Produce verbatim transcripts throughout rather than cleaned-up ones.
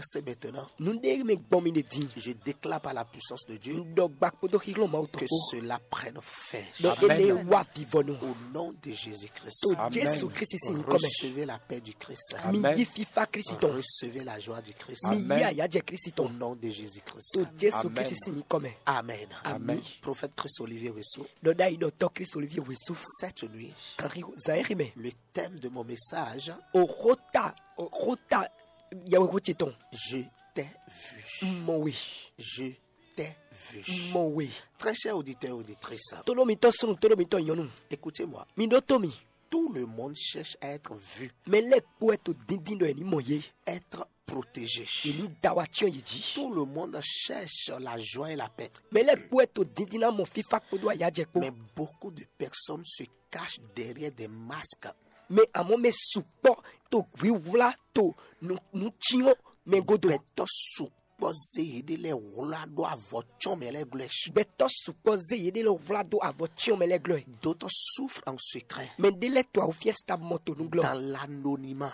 C'est maintenant. Nǔɖé mɛ gbɔn mi ɖe din. Je déclare par la puissance de Dieu. Un ɖɔ gba kpódó xíxlɔ́n Mawu tɔn que kpó. Cela prenne fin. Ɖɔ Amen. Énɛ́ wá vivɔnu. Au nom de Jésus-Christ. To Amen. Jésù Kristi sín nyǐkɔ mɛ. Recevez la paix du Christ. Mi Amen. Yí fífá Kristi tɔn. Recevez la joie du Christ. Mi yí Amen. Àyájɛ Kristi tɔn. Au nom de Jésus-Christ. To Jésù Amen. Kristi sín nyǐkɔ mɛ. Amen. Ami. Prophète Christ Olivier Wessou. Ɖɔ ɖ'ayǐ ɖɔ tɔ́ Kristi Olivier Wessou. Cette nuit, kan xi zan e xi mɛ. Le thème de mon message, Oxota oxota yɛwexó ce tɔn. Je t'ai vu. Mɔ we. Je t'ai vu. Mɔ we. Très cher auditeur et auditrice, Tóɖó mitɔn súnnu, tóɖó mitɔn nyɔnu. Écoutez-moi. Mi ɖótó mi. Tout le monde cherche à être vu, Mɛ lɛ́ɛ kpó wɛ to díndín ɖɔ è ní mɔ yě. Être protégé. È ní da wa cyɔ́n yě jí. Tout le monde cherche la joie et la paix. Mɛ lɛ́ɛ kpó wɛ to díndín ná mɔ fífá kpódó ayǎjɛ kpó. Mais beaucoup de personnes se cachent derrière des masques. Mɛ amɔ́ mɛ sukpɔ́ to hwíhwlá to nǔ nǔ cyɔ́n mɛ godo. Gbɛtɔ́ sukpɔ́ zé yěɖée lɛ́ɛ wlá ɖó avɔ cyɔ́n mɛ lɛ́ɛ glɔ́. Gbɛtɔ́ sukpɔ́ zé yěɖée lɛ́ɛ wlá dó avɔ cyɔ́n mɛ lɛ́ɛ glɔ́. D'autres souffrent en secret. Mɛ ɖé lɛ́ɛ to awúfiɛ́ ta mɔ to nú glɔ́. Dans l'anonymat.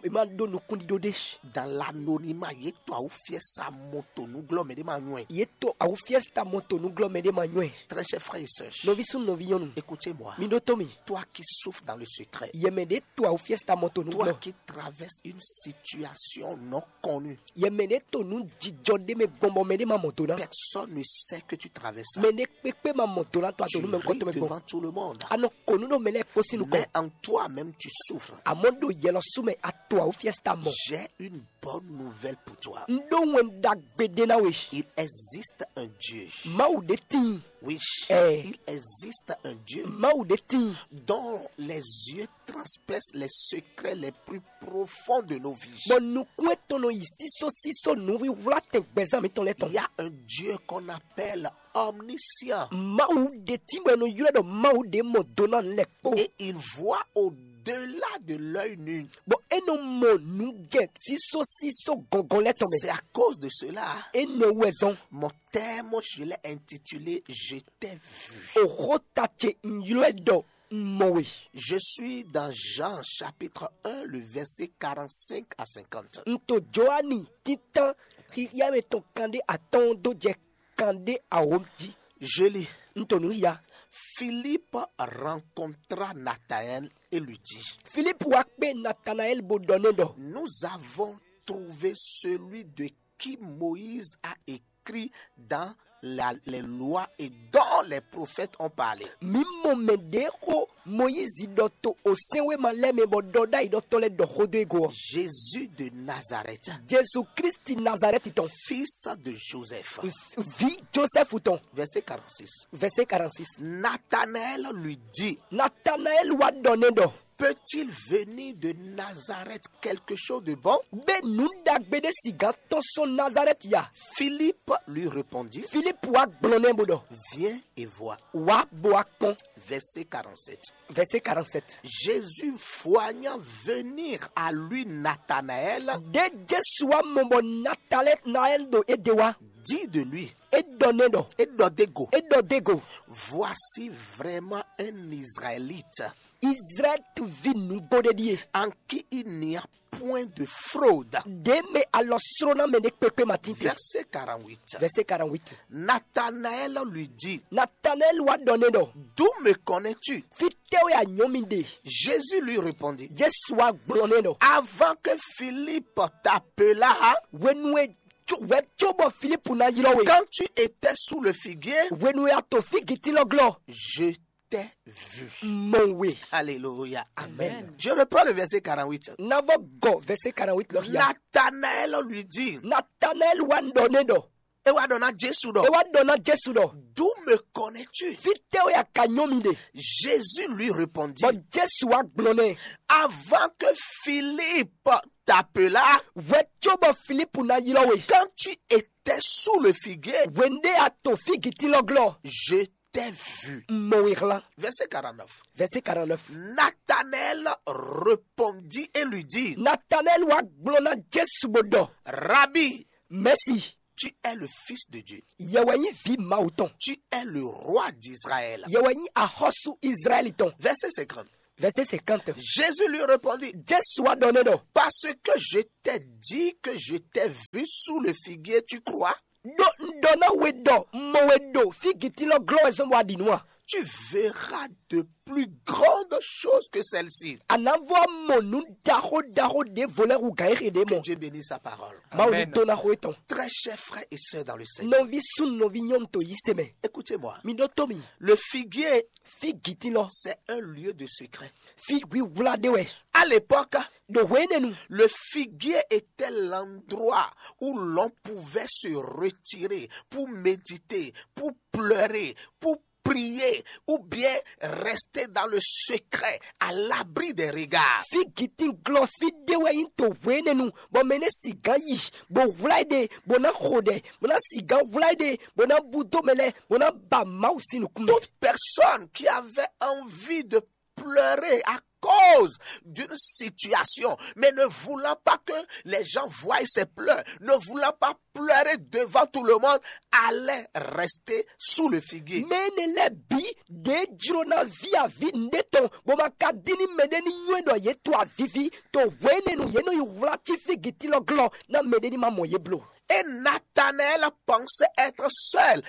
È má ɖó nukúnɖíɖó ɖé. Dans l'anonymat, yě to awúfiɛ́ sa mɔ to nú glɔ́ mɛ ɖé ma nywɛ́. Yě to awúfiɛ́ ta mɔ to nú glɔ́ mɛ ɖé ma nywɛ́. Très chers frères et sœurs, Nɔví súnnu, nɔví nyɔnu, écoutez-moi. Mi ɖótó mi. Toi qui souffres dans le secret, Yɛ mɛ ɖé to awúfiɛ́ ta mɔ to nú toi glɔ́. Qui traverses une situation non connue. Yɛ mɛ ɖé to nú jijɔ ɖé mɛ gbɔn bɔ mɛ ɖé ma mɔ do ná. Personne ne sait que tu traverses ça. Mɛ ɖé kpékpé ma mɔ do ná to ato nú mɛ nkɔtɔ mɛ gbɔn. Devant tout le monde. A nɔ kó nú ɖo mɛ lɛ́ɛ kpó sín nukɔn. Mais en toi-même, tu souffres. Àmọ́ ɖo yɛlɔ sú mɛ a to awúfiɛ́ ta mɔ. J'ai une bonne nouvelle pour toi. Un ɖó wɛn ɖagbe ɖé ná we. Il existe un Dieu. Mawu ɖé tíin. Oui, Eh. Il existe un Dieu. Mawu ɖé tíin. Dont les yeux transpercent les secrets les plus profonds de nos vies. Bɔ nukún etɔn nɔ yi sísó sísó nǔwiwlá tɛn gbɛzán mǐtɔn lɛ́ɛ tɔn. Il y a un Dieu qu'on appelle omniscient. Mawu ɖé tíin bɔ è nɔ ylɔ́ ɖɔ Mawu ɖé mɔ do ná lɛ́ kpó. Et il voit au-delà de l'œil nu. Bɔ é nɔ mɔ nǔ jɛ sísó sísó gɔngɔn lɛ́ɛ tɔn mɛ. C'est à cause de cela. Énɛ́ wɛ zɔn. Mon thème, je l'ai intitulé Je t'ai vu. Oxota ce un ylɔ́ ɛ ɖɔ un mɔ we. Je suis dans Jean chapitre un, le verset quarante-cinq à cinquante. Un to Joani títán xixia mɛ tɔn kanɖé atɔ́ɔ́n dó jɛ kanɖé awǒ jí. Je lis. Un to nǔ ya. Philippe rencontra Nathanaël et lui dit, Filipu wá kpé Natanaɛli bó ɖɔ n'i ɖɔ: Nous avons trouvé celui de qui Moïse a écrit dans la, les lois et dont les prophètes ont parlé. Mǐ mɔ mɛ ɖě xó Mɔyízi ɖɔ to osɛ́nwéma lɛ́ɛ mɛ bɔ ɖɔ ɖ'ayǐ ɖɔ tɔn lɛ́ɛ ɖɔ xó dó e go ɔ́. Jésus de Nazareth, Jezu Kristi Nazarɛti tɔn, fils de Joseph. Vǐ Josɛfu tɔn. Verset quarante-six. Vɛsɛ karantsis. Nathanaël lui dit, Natanaɛli wá ɖɔ n'i ɖɔ: Peut-il venir de Nazareth quelque chose de bon? Bɛ nǔ ɖagbe ɖé sixá tɔ́n sɔ́ Nazarɛti ya? Philippe lui répondit, Filipu wá gblɔ n'i bó ɖɔ: Viens et vois. Wá bó wá kpɔ́n. Verset quarante-sept. Vɛsɛ karantsit. Jésus, voyant venir à lui Nathanaël, Ɖé Jezu wá mɔ bɔ Natanaɛli ɖo é ɖe wá. Dit de lui, É ɖɔ n'i ɖɔ: é ɖɔ d'é go, É ɖɔ d'é go: Voici vraiment un Israélite, Izlayɛ́li ví nǔgbó ɖé ɖíe, en qui il n'y a point de fraude. Ɖě mɛ alɔ sló ná mɛ ɖé kpékpé ma tínte. Verset quarante-huit. Vɛsɛ karantwit. Nathanaël lui dit, Natanaɛli wá ɖɔ n'i ɖɔ: D'où me connais-tu? Fítɛ́ wɛ a nyɔ́ mì ɖe? Jésus lui répondit, Jezu wá gblɔ n'i ɖɔ: Avant que Philippe t'appelât, Hwenu e hwɛ cóbɔ Filipu ná ylɔ́ we. Quand tu étais sous le figuier, Hwenu e a to fígitín lɔ glɔ́, je t'ai vu. Mɔ we. Alléluia. Amen. Je reprends le verset quarante-huit. Na vɔ gɔ vɛsɛ karantwit lɔ xia. Nathanaël lui dit, Natanaɛli wá ɖɔ n'i ɖɔ. E wá ɖɔ ná Jesu ɖɔ, E wá ɖɔ ná Jezu ɖɔ: D'où me connais-tu? Fítɛ́ wɛ a ka nyɔ́ mì ɖe? Jésus lui répondit, Bɔ Jezu wá gblɔ n'i: Avant que Philippe t'appelât, Hwɛ cóbɔ Filipu ná ylɔ́ we. Quand tu étais sous le figuier, Hwenu ɖé a to fígitín lɔ glɔ́, Je t'ai vu. Mɔ we hlán. Verset quarante-neuf. Vɛsɛ karantnɛf. Nathanaël répondit et lui dit, Natanaɛli wá gblɔ ná Jezu bó ɖɔ: Rabbi, Mɛsi, tu es le fils de Dieu. Yɛ wɛ nyí vǐ Mawu tɔn. Tu es le roi d'Israël. Yɛ wɛ nyí axɔ́sú Izlayɛ́li tɔn. Verset cinquante. Verset cinquante. Jésus lui répondit, Jesu wá ɖɔ nɛ ɖɔ, Parce que je t'ai dit que je t'ai vu sous le figuier, tu crois? Ɖó un ɖɔ ná we ɖɔ un mɔ we ɖo fígitín lɔ glɔ́ wɛ zɔ́n bɔ a ɖi nǔ a? Tu verras de plus grandes choses que celles-ci. A nǎ vɔ mɔ nǔ ɖaxó ɖaxó ɖěvo lɛ́ɛ hú gǎn e xe ɖě Que mɔ. Dieu bénisse sa parole. Mawu ní Amen. Tó ná xo étɔn. Très chers frères et sœurs dans le Seigneur, Nɔví súnnu nɔví nyɔ́nu to yí se mɛ. Écoutez-moi. Mi ɖó tó mi. Le figuier, Fígitín lɔ. C'est un lieu de secret. Fí hwíhwlá ɖé wɛ. À l'époque, Ɖo hwě énɛ́ nu. Le figuier était l'endroit où l'on pouvait se retirer pour méditer, pour pleurer, pour prier, ou bien rester dans le secret, à l'abri des regards. Fígitín glɔ́ fí ɖé wɛ nyí to hwě énɛ́ nu, bɔ mɛ nɛ́ sigán yi, bó hwlá ɛ ɖe, bó ná xo ɖɛ, bó ná sigán hwlá ɛ ɖe, bó ná bú dó mɛ lɛ́ɛ, bó ná ba Mawu sín nukún mɛ. Toute personne qui avait envie de pleurer à cause d'une situation, mais ne voulant pas que les gens voient ses pleurs, ne voulant pas pleurer devant tout le monde, allait rester sous le figuier. Mɛ énɛ́ lɛ́ɛ bǐ ɖě jló ná ví avǐ nǔɖé tɔn, bó ma ka dín ní mɛɖé ní nywɛ́ ɖɔ yě to aviví. To hwě énɛ́ nu yě nɔ yi hwlá cí fígitín lɔ glɔ́ ná mɛɖé ní ma mɔ yě blo. Et Nathanaël pensait être seul,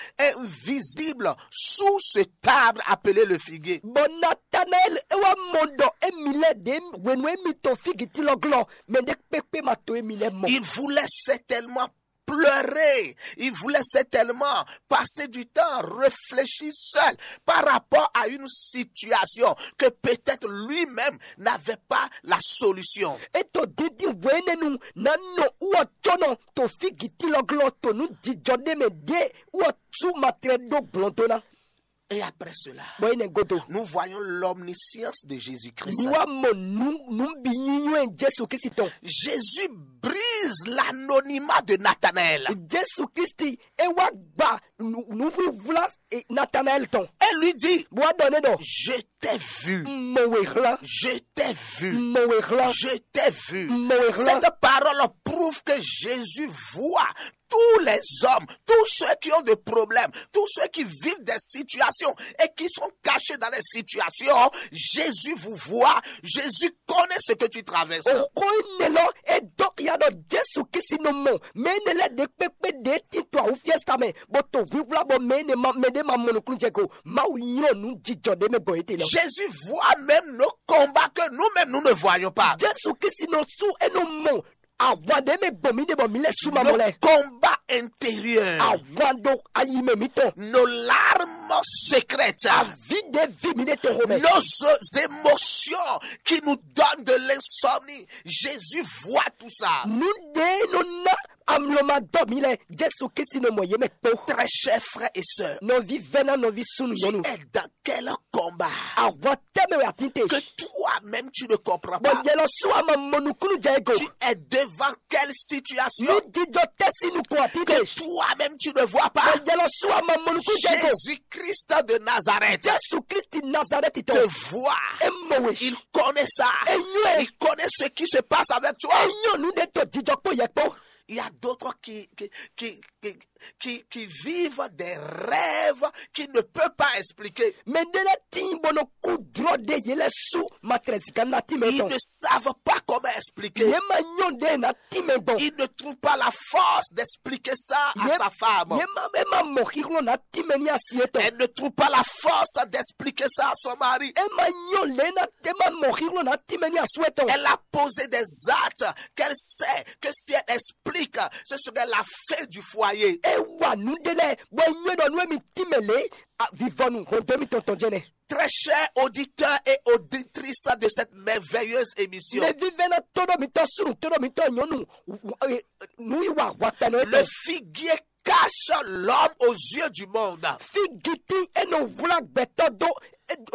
invisible, sous ce arbre appelé le figuier. Bɔ Natanaɛl é wá mɔ ɖɔ émí lɛ́ɛ ɖě hwenu émí to fígitín lɔ glɔ́, mɛ ɖé kpékpé ma to émí lɛ́ɛ mɔ. Il voulait certainement pleurer. Il voulait certainement passer du temps à réfléchir seul par rapport à une situation que peut-être lui-même n'avait pas la solution. É to dídí hwě énɛ́ nu ná nɔ wú ɔ có nɔ to fígitín lɔ glɔ́ to nǔ jijɔ ɖé mɛ ɖě wú ɔ sú matlɛ ɖó gblɔn dó ná. Et après cela, Bɔ énɛ́ godo. Nous voyons l'omniscience de Jésus-Christ. Mi wá mɔ nǔ nǔ bǐ nyínyɔ́ e Jésù Kristi tɔn. Jésus brise l'anonymat de Nathanaël. Jésù Kristi é wá gba nǔ- nǔvlívlá eh, Natanaɛl tɔn. Et lui dit, Bó wá ɖɔ nɛ ɖɔ, Je t'ai vu. Un mɔ we xlán. Je t'ai vu. Un mɔ we xlán. Je t'ai vu. Un mɔ we xlán. Cette parole prouve que Jésus voit tous les hommes, tous ceux qui ont des problèmes, tous ceux qui vivent des situations et qui sont cachés dans des situations, Jésus vous voit, Jésus connaît ce que tu traverses. Òxó énɛ́ lɔ é dó xia ɖɔ Jésù Kristi nɔ mɔ mɛ énɛ́ lɛ́ɛ ɖe kpékpé ɖě tito awúfiɛ́sa mɛ, bó to hwíhwlá bɔ mɛ énɛ́ ma mɛ ɖé ma mɔ nukúnnú jɛ go. Mawu nylɔ́ nǔ jijɔ ɖé mɛ gbɔn yě te lɔ. Jésus voit même nos combats que nous-mêmes nous ne voyons pas. Jésù Kristi nɔ sú é nɔ mɔ ahwan ɖé mɛ gbɔn mì ɖe bɔ mì lɛ́ sú ma mɔ Nos lɛ. Combats intérieurs. Ahwan ɖo ayi mɛ mǐtɔn. Nos larmes secrètes. Avi ɖé vi mì ɖe toxo mɛ. Nos émotions qui nous donnent de l'insomnie. Jésus voit tout ça. Nu ɖe nɔ ná amlɔ ma dɔ mì lɛ. Jésù Kristi nɔ mɔ yě mɛ kpó. Très chers frères et sœurs, Nɔvi vɛ́ná nɔvi súnnu tu nyɔnu. Es dans quel combat Ahwan tɛmɛ wɛ atin te. Que toi-même tu ne comprends Bɔ pas. Yɛ lɔ sú ama mɔ nukúnnú jɛ ego. Tu es devant quelle situation Nu jijɔ tɛsi nukun atin Que te. Toi-même tu ne vois pas. Bɔ Yɛ lɔ sú ama mɔ nukúnnú jɛ ego. Jésus-Christ de Nazareth Jésù Kristi Nazareti te tɔn. Voit. E mɔ we. Il connaît ça. E nyɔ ɛ. Il connaît ce qui se passe avec toi. E nyɔ nu ɖe to jijɔ kpó yɛ kpó. Il y a d'autres qui, qui, qui, qui, qui, qui vivent des rêves qu'ils ne peuvent pas expliquer. Mɛ ɖe lɛ tin bɔ nɔ kú drɔ ɖe yɛ lɛ sú matrɛsi ka na ti mɛ Ils tɔn. Ne savent pas comment expliquer. Yɛ ma nyɔ ɖe na ti mɛ gbɔn. Il ne trouve pas la force d'expliquer ça à Yɛ- sa femme. Yɛ ma e ma mɔ xixlɔ na ti mɛ ni asi etɔn. Elle ne trouve pas la force d'expliquer ça à son mari. E ma nyɔ lɛ na e ma mɔ xixlɔ na ti mɛ ni asu etɔn. Elle a posé des actes qu'elle sait que si elle explique, ce serait la fin du foyer. E wa nu ɖe lɛ bɔ e nyɔ ɖɔ nu emi ti mɛ lɛ vivɔnu hɔn do mi tɔntɔn jɛ nɛ. Très chers auditeurs et auditrices de cette merveilleuse émission, Mɛ vivɛ na tɔɖɔ mi tɔ sunu tɔɖɔ mi tɔ nyɔnu nu yi wa wa kpɛnɛ le figuier cache l'homme aux yeux du monde, Figiti e nɔ wla gbɛtɔ do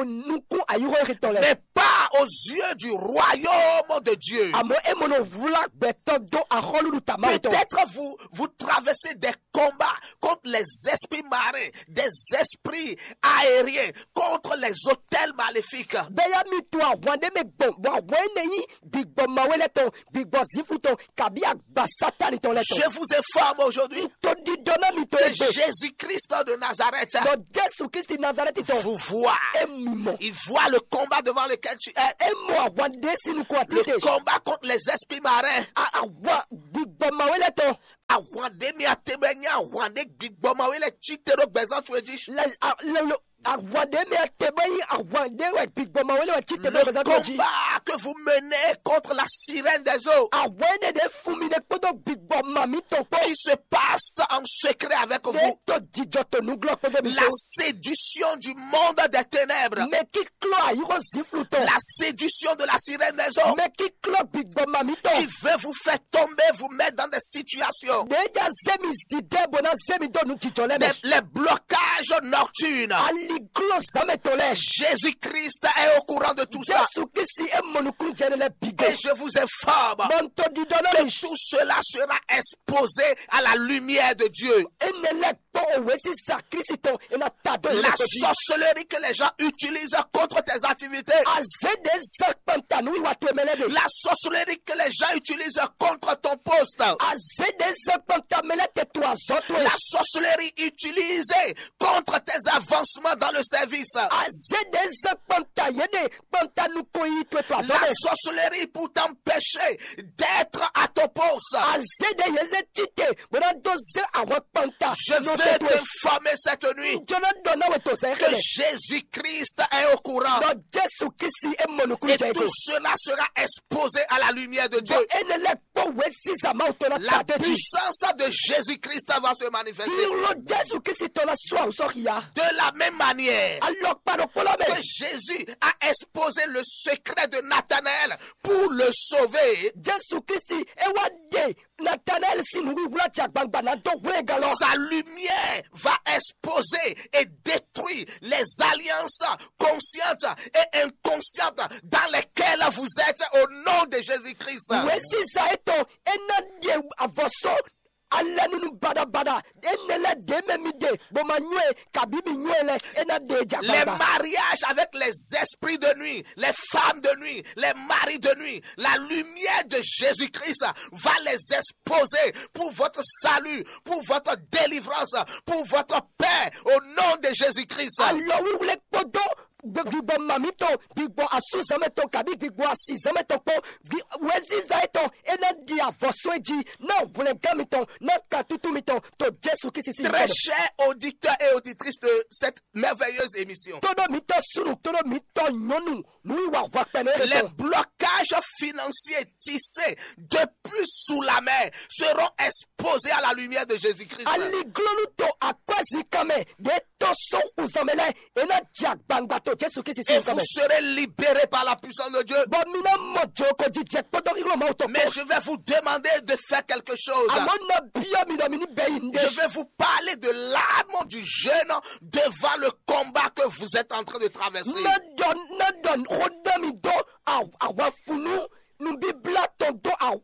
nukun ayihɔ ehe tɔn lɛ. Mais pas aux yeux du royaume de Dieu. Amɔ e mɔ nɔ wla gbɛtɔ do axɔluɖu tama tɔn. Peut-être vous, vous traversez des combats contre les esprits marins, des esprits aériens, contre les hôtels maléfiques. Bɛya mi to ahwan ɖe mɛ gbɔn bɔ ahwan ene yi gbigbɔ mawe lɛ tɔn gbigbɔ zifu tɔn kabi agba satani tɔn lɛ tɔn. Je vous informe aujourd'hui To ɖiɖɔ ná mi to que egbe. Jésus-Christ de Nazareth Ɖɔ Jesu Kristi Nazareti tɔn. vous voit. Emi mɔ. Il voit le combat devant lequel tu es. Emi mɔ ahwan ɖe si nukun ati Le te. Combat contre les esprits marins. A- Ahwan gbigbɔ mawe lɛ tɔn. Ahwan ɖé mi ate bɛ nyɛ ahwan ɖé gbigbɔ mawe lɛ tsi te ɖo gbɛzán tso edzi. Le a- le- le- Ahwan ɖe mi ate bɛ nyi ahwan ɖe wɛ gbigbɔ mawe lɛ wɛ tsi te ɖo Le gbɛzán tɔn jí. Combat que vous menez contre la sirène des eaux Ahwan ɖe ɖe fun mi ɖe kpódó gbigbɔ ma mi tɔn kpó. Qui se passe en secret avec Ɖe vous. To jijɔ to nuglɔ kpódó mi La tó. Séduction du monde des ténèbres. Mɛ kíklɔ ayixɔ zinflu tɔn. La séduction de la sirène des eaux. Mɛ kíklɔ gbigbɔ ma mi Qui tɔn. Veut vous faire tomber, vous mettre dans des situations. Ɖe ja zé mi zi dɛ bó ná zé mi dó nu jijɔ lɛ Des, mɛ. Les blocages nocturnes. Aliglɔ zamɛ tɔn lɛ. Jésus-Christ est au courant de tout ça. Jesu Kristi e mɔ nukun jɛ ne lɛ bi go. Et je vous informe Bɔntɔ didɔ na que mi. Tout cela sera exposé à la lumière de Dieu. Ene lɛ kpɔ owe sisan Kristi tɔn e na ta do La yɛ kpɛbi. Sorcellerie que les gens utilisent contre tes activités. Azé de zan kpanta nu wiwa to mɛ lɛ de. La sorcellerie que les gens utilisent contre ton poste. Azé de zan kpanta mɛ lɛ te to azɔ to La ye. Sorcellerie utilisée contre tes avancements dans le service. Azé de zan kpanta ye de kpanta nu ko yi to to azɔ La mɛ. Sorcellerie pour t'empêcher d'être à ton poste. Azé de ye zé tite bó ná dó zé àwọn kpanta. Je veux t'informer cette nuit Jɔna dɔ na we to sɛ que xele. Jésus-Christ est au courant. Dɔ Jesu Kristi e mɔ nukun Et jɛ tout go. Cela sera exposé à la lumière de Dieu. Bɔ ene lɛ kpɔ we sisan ma to na La ta de ji. Puissance de Jésus-Christ va se manifester. Iro Jesu Kristi tɔ na sɔ awusɔ xia. De la même manière Alɔkpa ɖo kpɔlɔ que mɛ. Jésus a exposé le secret de Nathanaël pour le sauver. Jesu Kristi e wa de Natanael si nu wíwlá jɛ agbangba ná dó hwlɛ́ngán lɔ. Sa lumière va exposer et détruire les alliances conscientes et inconscientes dans lesquelles vous êtes au nom de Jésus-Christ. Wěziza etɔn e ná ɖe avɔsó alɛnunu baɖabaɖa énɛ́ lɛ́ɛ ɖě mɛ mi ɖe bó ma nywɛ́ kabí mi nywɛ́ lɛ́ɛ é ná ɖe jɛ Les agbagba. Mariages avec les esprits de nuit, les femmes de nuit, les maris de nuit, la lumière de Jésus-Christ va les exposer pour votre salut, pour votre délivrance, pour votre paix au nom de Jésus-Christ. Alɔ wíwlé kpódó gbigbɔ mami tɔn gbigbɔ asúzanmɛ tɔn kabí gbigbɔ asizanmɛ tɔn kpó wěziza etɔn é ná ɖi avɔsó jí ná hwlɛngán mitɔn ná katutu mitɔn to Jesu Kristi sín Très nyǐkɔ mɛ. Chers auditeurs et auditrices de cette merveilleuse émission, Tó ɖó mitɔn súnnu tó ɖó mitɔn nyɔnu nǔwiwa hwakpɛnɛ les etɔn. Blocages financiers tissés depuis sous la mer seront exposés à la lumière de Jésus-Christ. Aliglɔnu to akwɛzikan mɛ ɖě tɔn sɔn xuzanmɛ lɛ é ná jɛ agbangba to Jesu Kristi Et sín nyǐkɔ vous mɛ. Serez libérés par la puissance de Dieu. Bɔ mi ná mɔ jǒkɔ jijɛ kpódó xixlɔ́ Mawu tɔn Mais kpó. Je vais vous demander de faire quelque chose. Àmọ́ ná byɔ́ mi ɖɔ mi ní bɛ yi Je ŋɖe. Vais vous parler de l'arme du jeûne devant le combat que vous êtes en train de traverser. Ná ɖɔ ná ɖɔ xó ɖɔ mi dó aw- awafunu nubíblá tɔn dó aw-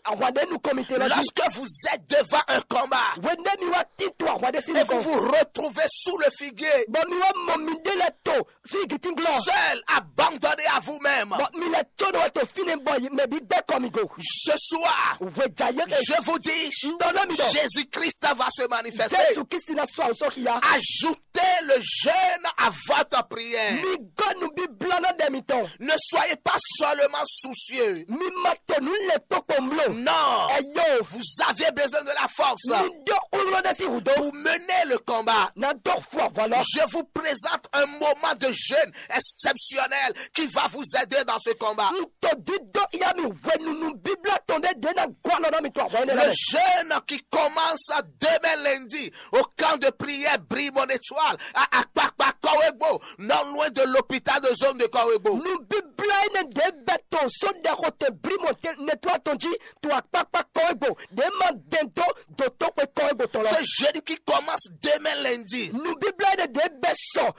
ahwaɖénu kɔmite lɔ jí. Lorsque vous êtes devant un combat Wěnde mi wá tito ahwaɖé sí et vous nukɔn. Vous retrouvez sous le figuier, Bɔ mi wá mɔ mi ɖé lɛ to sí gitín glɔ. Seul, abandonné à vous-même, Bɔ mi lɛ tsɔ́ ɖo wɛ to fínɛ́ bɔ yi mɛ bí gbɛ́ kɔ mi go. Ce soir, Hwejayéke. Je vous dis, Ndɔ na mi ɖɔ. Jésus-Christ va se manifester. Jesu Kristi na sɔ awusɔ xia. Ajoutez le jeûne à votre prière. Mi gɔ́ nubíblá ná ɖɛ mitɔn. Ne soyez pas seulement soucieux. Mi ma to nǔ le kpokpo mlo. Non. Ɛyɔ. Vous avez besoin de la force. Mi ɖɔ xwló ɖe sí hudó. Pour mener le combat, Na dɔ fɔ vɔ lɔ. Je vous présente un moment de jeûne exceptionnel qui va vous aider dans ce combat. N to dídó ya mi hwenu nubíblá tɔn ɖé ɖé na gɔ́ alɔ na mi to ahwa énɛ́ Le lɛ. Jeûne qui commence demain lundi au camp de prière Brimo Étoile à Akpakpa Kowegbo, non loin de l'hôpital de zone de Kowegbo. Nubíblá énɛ́ ɖě bɛ to só ɖɛ xo te brímɔ netwa tɔn jí to akpákpá kɔ égbò ɖě ma dɛn dó dòtó xwe kɔ égbò tɔn lɔ. Ce jeûne qui commence demain lundi. Nubíblá énɛ́ ɖě bɛ sɔ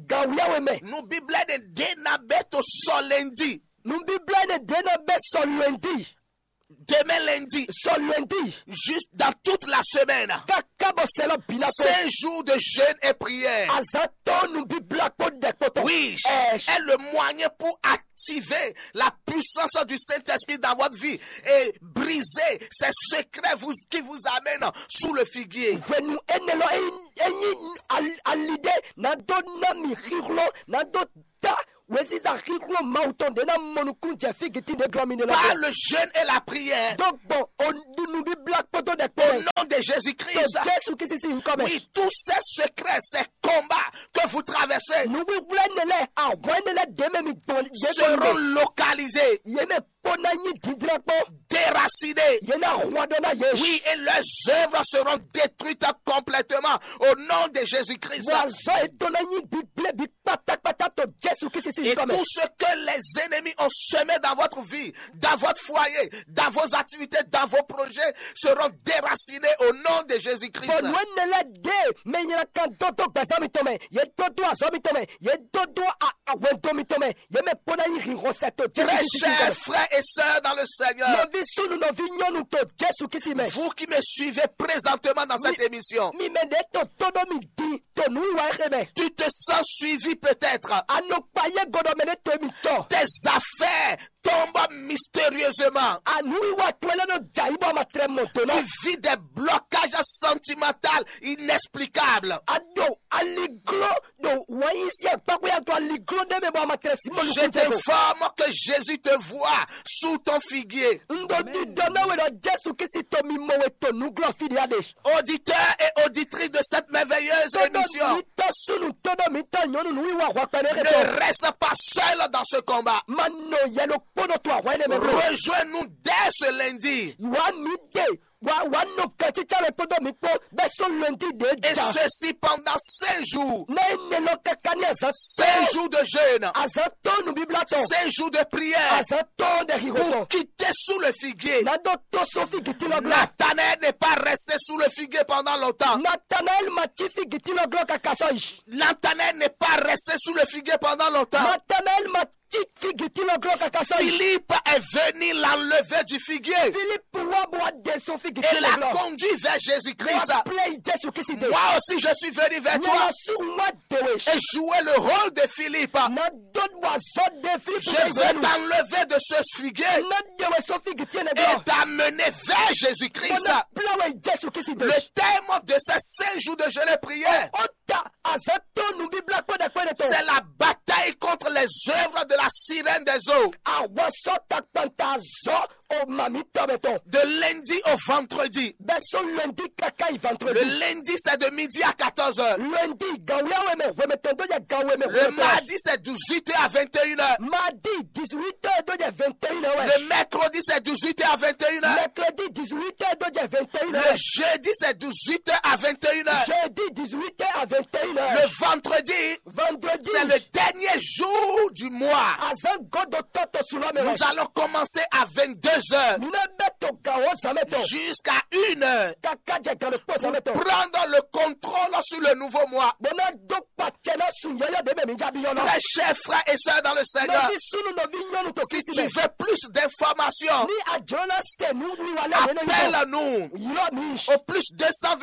gawíyáwé mɛ. Nubíblá énɛ́ ɖě na bɛ to sɔ lundi. Nubíblá énɛ́ ɖě na bɛ sɔ lundi. Demain lundi, Sɔ lundi. Juste dans toute la semaine. Káká bɔ sɛlɔ bìlá kpó. Cinq jours de jeûne et prière. Azatɔ nubíblá kpó ɖɛ kpó tɔn. Oui, Ɛ. Est le moyen pour attirer activer la puissance du Saint-Esprit dans votre vie et briser ces secrets vous, qui vous amènent sous le figuier. Hwenu énɛ́ lɔ, é nyí al- ali ɖé ná dó ná mi xixlɔ́, ná dó ta wěziza xixlɔ́ Mawu tɔn ɖě ná mɔ nukún jɛ fígitín ɖě glɔ́ mi ɖe lɔ. Par le jeûne et la prière. Dó gbɔn o nubíblá kpódó ɖɛkpó Au nom de Jésus-Christ. Jésù Kristi sín nyǐkɔ mɛ. Oui, tous ces secrets, ces combats que vous traversez Nǔwíwlá énɛ́ lɛ́ɛ, ahwan énɛ́ lɛ́ɛ ɖě mɛ mi gbɔn yě gbɔn seront localisés, yě mɛ kpó ná nyí dǐndlɛ́n kpó. Déracinés. Yě ná hwan ɖó ná yě. Oui, et leurs œuvres seront détruites complètement au nom de Jésus-Christ. Bɔ azɔ̌ yětɔn ná nyí gbígblébi kpátákpátá to Jésù Kristi sín nyǐkɔ mɛ. Et tout ce que les ennemis ont semé dans votre vie, dans votre foyer, dans vos activités, dans vos projets seront déracinés au nom de Jésus-Christ. Bɔ nǔ énɛ́ lɛ́ɛ ɖě mɛ nylá kan dó dó gbɛ̌sán mitɔn mɛ, yě dó dó azɔ̌ mitɔn mɛ, yě dó dó a- ahwɛndo mitɔn mɛ, yě mɛ kpó ná nyí hǐnhɔ́n sɛ to Jésù Très Kristi sín nyǐkɔ chers mɛ. Frères et sœurs dans le Seigneur, Nɔví súnnu, nɔví nyɔ́nu to Jésù Kristi mɛ. Vous qui me suivez présentement dans cette émission, Mi mɛ ɖě to tó ɖó mi din to nǔwiwa éxe mɛ. Tu te sens suivi peut-être. A nɔ kpa yé godɔ mɛ ɖé to mi cɔ. Tes affaires tombent mystérieusement. Anǔwiwa towe lɛ́ nɔ jɛ ayǐ bɔ a ma tlɛ mɔ do ná. Tu vis des blocages sentimentaires inexplicables. A ɖo aligló ɖo wǎn yí sí akpákpé ya to aligló ɖé mɛ bɔ a ma tlɛ sí mɔ Je nukún jɛ ko. T'informe que Jésus te voit sous ton figuier. Un ɖo ɖiɖɔ ná we ɖɔ Jésù Kristi to mi mɔ we to nǔglɔ́ fí ɖé aɖe. Auditeurs et auditrices de cette merveilleuse émission, Tóɖó mi tɔ́ súnnu, tóɖó mi tɔ́ nyɔ̌nu nǔwiwa hwakpɛ ɖé ne xetɔ́. Reste pas seul dans ce combat. Ma nɔ yɛ ɖokpónɔ to ahwan énɛ́ mɛ. Rejoins-nous dès ce lundi. Wǎ mi ɖe, wǎ wǎ nɔ kɛcícá lɛ kpódó mi kpó bɛ́ sɔ́ lundi ɖě. Et ja ceci pendant cinq jours. Ná énɛ́ lɔ káká ní azǎn. Cinq jours de jeûne. Azǎn tɔn nǔbíblá tɔn. Cinq jours de prière. Azǎn tɔn ɖe xixo tɔn. Pour quitter sous le figuier. Ná ɖó tó sɔ́ fígití lɔ glɔ́. Nathanaël n'est pas resté sous le figuier pendant longtemps. Nathanaël ma cí fígití lɔ glɔ́ káká sɔ́ yi. Nathanaël n'est pas resté sous le figuier pendant longtemps. Nathanaël ma cí fígití lɔ glɔ́ káká sɔ́ yi. Philippe est venu l'enlever du figuier. Philippe wá bɔ wá ɖe sɔ́ fígití lɔ glɔ́. Et l'a conduit vers Jésus-Christ. Wá plé yi Jésù Kristi dé. Moi aussi, je suis venu vers toi. Nyɛ lɔ sú wá dé we. Et jouer le rôle de Philippe. Ná dó bɔ azɔ́ ɖe Philippe. Je vais t'enlever de ce figuier. Ná ɖe we sɔ́ fígití lɔ glɔ́. Et t'amener vers Jésus-Christ. Mo ná plé we yi Jésù Kristi dé. Le thème de ces cinq jours de jeûne et prière, Ó ta azǎn tɔn nǔbíblá kpɛ́ɖɛkpɛ́ɖɛ tɔn. C'est la bataille contre les œuvres de la sirène des eaux. Àwa sɔ́ takpanta azɔ̌ o màmí tɔn mɛ tɔn. De lundi au vendredi. Bɛ́ sɔ́ lundi káká yi vendredi. Le lundi, c'est de midi à quatorze heures. Lundi, gan wíyáwé mɛ hwemɛ tɔn dó jɛ gan wé mɛ. Le hwemɛ tɔn. Mardi, c'est dix-huit heures à vingt et une heures. Mardi, dix-huit heures dó jɛ vingt et une heures. Le mercredi, c'est dix-huit heures à vingt et une heures. Mercredi, dix-huit heures dó jɛ vingt et une heures. Le jeudi, c'est dix-huit heures à vingt et une heures. Jeudi, dix-huit heures à vingt et une heures. Le vendredi, vendredi, c'est le dernier jour du mois. Azán gɔ́dɔ tɔ́ to sunɔ mɛ. Nous allons commencer à vingt-deux heures. Mi ná bɛ to gan o zan mɛ tɔn. Jusqu'à une heure. Kaka jɛ gan ɖokpó zan mɛ tɔn. Pour prendre le contrôle sur le nouveau mois. Bó ná dó kpacɛ ná sun yɔyɔ ɖe mɛ mi jábí yɔ lɔ. Très chers frères et sœurs dans le Seigneur, Nɔví sunu, nɔví nyɔnu to si Kristi tu mɛ. Veux plus d'informations, Ni àjọ ná sɛ nú wíwá lɛ yẹn lɔ yìí. Appelle-nous Yɔ mi. Au plus deux cent vingt.